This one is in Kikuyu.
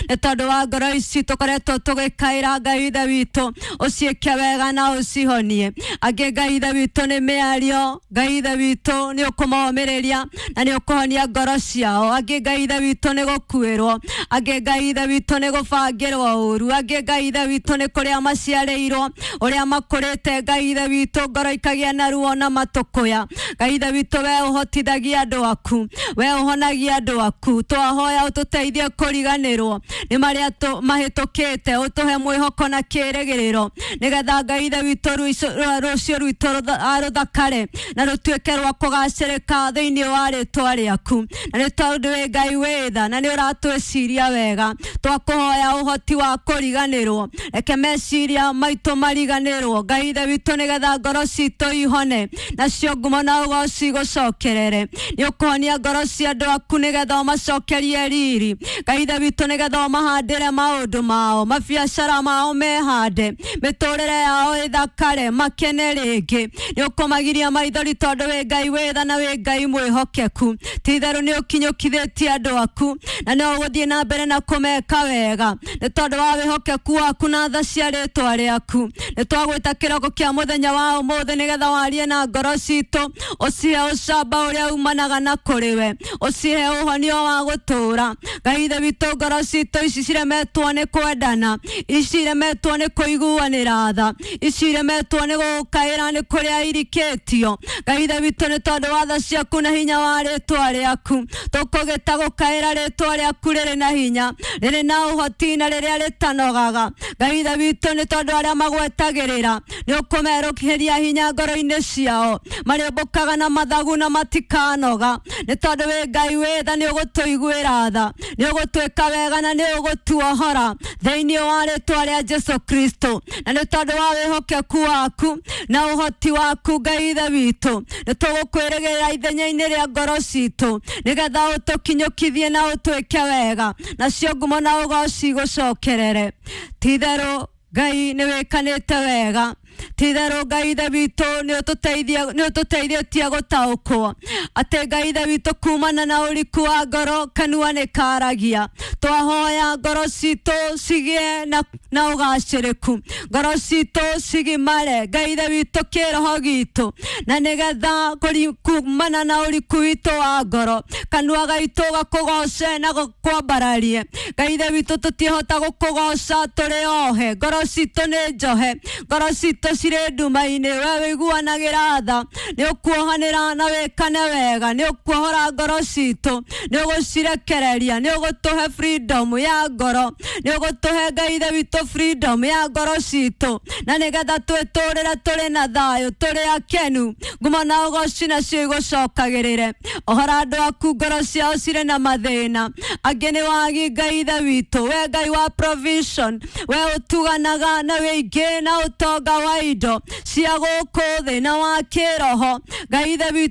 Nĩ tondũ wa ngoro ici tũkoretwo tũgĩkaĩra Ngai ithe witũ, ũciĩke wega na ũcihonie. Angĩ Ngai ithe witũ nĩ mĩario, Ngai ithe witũ nĩ ũkũmomĩrĩria na nĩ ũkũhonia ngoro ciao. Angĩ Ngai ithe witũ nĩ gũkuĩrwo, angĩ Ngai ithe witũ nĩ gũbangĩrwo ũru, angĩ Ngai ithe witũ nĩ kũrĩa maciarĩirwo, ũrĩa makũrĩte Ngai ithe witũ ngoro ikagĩa na ruo na matũkũya. Ngai ithe witũ we ũhotithagia andũ aku, we ũhonagia andũ aku, twahoya ũtũteithie kũriganĩrwo nĩ marĩa mahĩtũkĩte, ũtũhe mwĩhoko na kĩĩrĩgĩrĩro, nĩgetha Ngai ithe witũ rũciũ rwitũ rũthakare na rũtuĩke rwa kũgacĩrĩka thĩinĩ wa rĩtwa rĩaku. Na nĩ tondũ wĩ Ngai wĩ tha na nĩ ũratwĩciria wega, twakũhoya ũhoti wa kũriganĩrwo, reke meciria maitũ mariganĩrwo Ngai ithe witũ, nĩgetha ngoro citũ ihone nacio ngumo na ũgoci gũcokerere. Nĩ ũkũhonia ngoro cia andũ aku nĩgetha ũmacokerie riri Ngai ithe witũ, nĩgetha ũmahandĩre maũndũ mao, mabiacara mao mehande, mĩtũrĩre yao ĩthakare, makene rĩngĩ. Nĩ ũkũmagiria maithori tondũ wĩ Ngai wĩ tha na wĩ Ngai mwĩhokeku. Ti-itherũ nĩ ũkinyũkithĩtie andũ aku na no ũgũthiĩ na mbere na kũmeka wega nĩ tondũ wa wĩhokeku waku na tha cia rĩtwa rĩaku. Nĩ twagwĩta kĩroko kĩa mũthenya wa ũmũthĩ nĩgetha warie na ngoro citũ, ũcihe ũcamba ũrĩa umanaga na kũrĩ we, ũcihe ũhonio wa gũtũũra. Ngai ithe witũ, ngoro citũ ici ciremetwo nĩ kwendana, ici iremetwo nĩ kũiguanĩra tha, ici iremetwo nĩ gũkaĩra nĩ kũrĩa irikĩtio. Ngai ithe witũ, nĩ tondũ wa tha ciaku na hinya wa rĩtwa rĩaku, tũkũgĩta gũkaĩra rĩtwa rĩaku rĩrĩ na hinya, rĩrĩ na ũhoti na rĩrĩa rĩtanogaga. Ngai ithe witũ, nĩ tondũ arĩa magwetagĩrĩra nĩ ũkũmerũkĩria hinya ngoro-inĩ ciao, marĩũmbũkaga na mathagu na matikanoga. Nĩ tondũ wĩ Ngai wĩ tha, nĩ ũgũtũiguĩra tha, nĩ ũgũtwĩka wega na nĩ ũgũtuohora thĩinĩ wa rĩtwa rĩa Jesu Kristo. Na nĩ tondũ wa wĩhokeku waku na ũhoti waku Ngai ithe witũ, nĩ tũgũkwĩrĩgĩrĩra ithenya-inĩ rĩa ngoro citũ, nĩgetha ũtũkinyũkithie na ũtwĩke wega, nacio ngumo na ũgoci gũcokerere. Ti-itherũ Ngai nĩ wĩkanĩte wega, ti-itherũ Ngai ithe witũ nĩ ũtũteithĩtie gũtaũkwo atĩ Ngai ithe witũ kumana na ũriku wa ngoro kanua nĩ karagia. Twahoya ngoro citũ cigĩe na ũgacĩrĩku, ngoro citũ cigimare Ngai ithe witũ kĩroho gitũ, na nĩgetha kumana na ũriku witũ wa ngoro kanua gaitũ gakũgoce na gũkwambararie. Ngai ithe witũ, tũtiĩhota gũkũgoca tũrĩ ohe, ngoro citũ nĩ njohe, ngoro citũ cirĩ nduma-inĩ. We wĩiguanagĩra tha, nĩ ũkuohanĩra na wĩkane wega, nĩ ũkuohora ngoro citũ, nĩ ũgũcirekereria, nĩ ũgũtũhe freedom ya ngoro, nĩ ũgũtũhe Ngai ithe witũ freedom ya ngoro citũ, na nĩgetha twĩtũrĩre tũrĩ na thayũ, tũrĩ akenu, ngumo na ũgoci nacio igũcokagĩrĩre. Ohora andũ aku ngoro ciao cirĩ na mathĩna, angĩ nĩ wagi Ngai ithe witũ, we Ngai wa provision, we ũtuganaga na wĩingĩ na ũtonga wa indo cia gũkũ thĩ na wa kĩroho. Ngai ithe witũ.